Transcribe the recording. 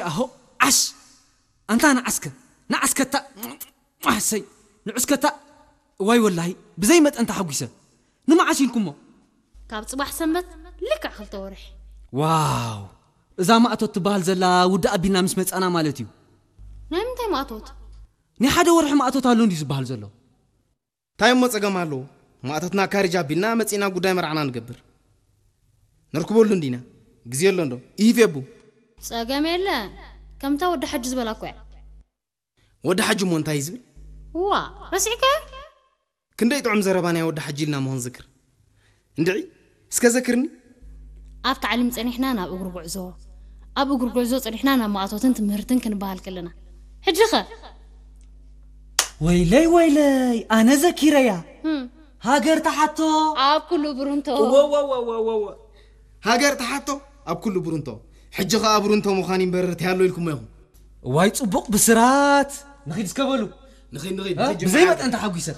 ኣሆ ዓሽ ኣንታ ንዓስከ ንዓስከታ ኣሰይ ንዑስከታ ዋይ ወላሂ ብዘይ መጠን ተሓጒሰ። ንመዓስ ኢልኩሞ? ካብ ፅባሕ ሰንበት ልክዕ ክልተ ወርሒ። ዋው እዛ ማእቶት ትበሃል ዘላ ውዲ ኣቢልና ምስ መፃና ማለት እዩ። ናይ ምንታይ ማእቶት? ናይ ሓደ ወርሒ ማእቶት ኣሎ እንዲ ዝበሃል ዘሎ። እንታይ እሞ ጸገም ኣለዎ? ማእቶትና ካሪጅ ኣቢልና መጺእና ጉዳይ መርዓና ንገብር። ነርክበሉ እንዲና። ግዜ ኣሎ እንዶ? ይህፍ የቡ። ጸገም የለ። ከምታ ወዲ ሓጂ ዝበላ እኮ እያ። ወዲ ሓጂ እሞ እንታይ ዝብል? ዋ ረሲዕከ? ክንደይ ጥዑም ዘረባ ናይ ወዲ ሓጂ ኢልና መሆን ዝክር። እንድዒ እስከ ዘክርኒ። ኣብ ታዕሊም ጸኒሕና ናብ እግሪ ጉዕዞ፣ ኣብ እግሪ ጉዕዞ ጸኒሕና ናብ ማእቶትን ትምህርትን ክንበሃል ከለና፣ ሕጂ ኸ? ወይለይ ወይለይ ኣነ ዘኪረያ። ህም፣ ሃገር ተሓቶ። ኣብ ኩሉ ብሩንቶ። ሃገር ተሓቶ ኣብ ኩሉ ብሩንቶ። ሕጂ ኸኣ ብሩንቶ ምዃን ይንበርር ተያሎ ኢልኩሞ ኢኹም። ዋይ ጽቡቕ ብስራት። ንኺድ እስከ በሉ። ንኺድ ንኺድ እ? ንኺድ ብዘይ ጅምዓ። መጠን ተሓጒሰ።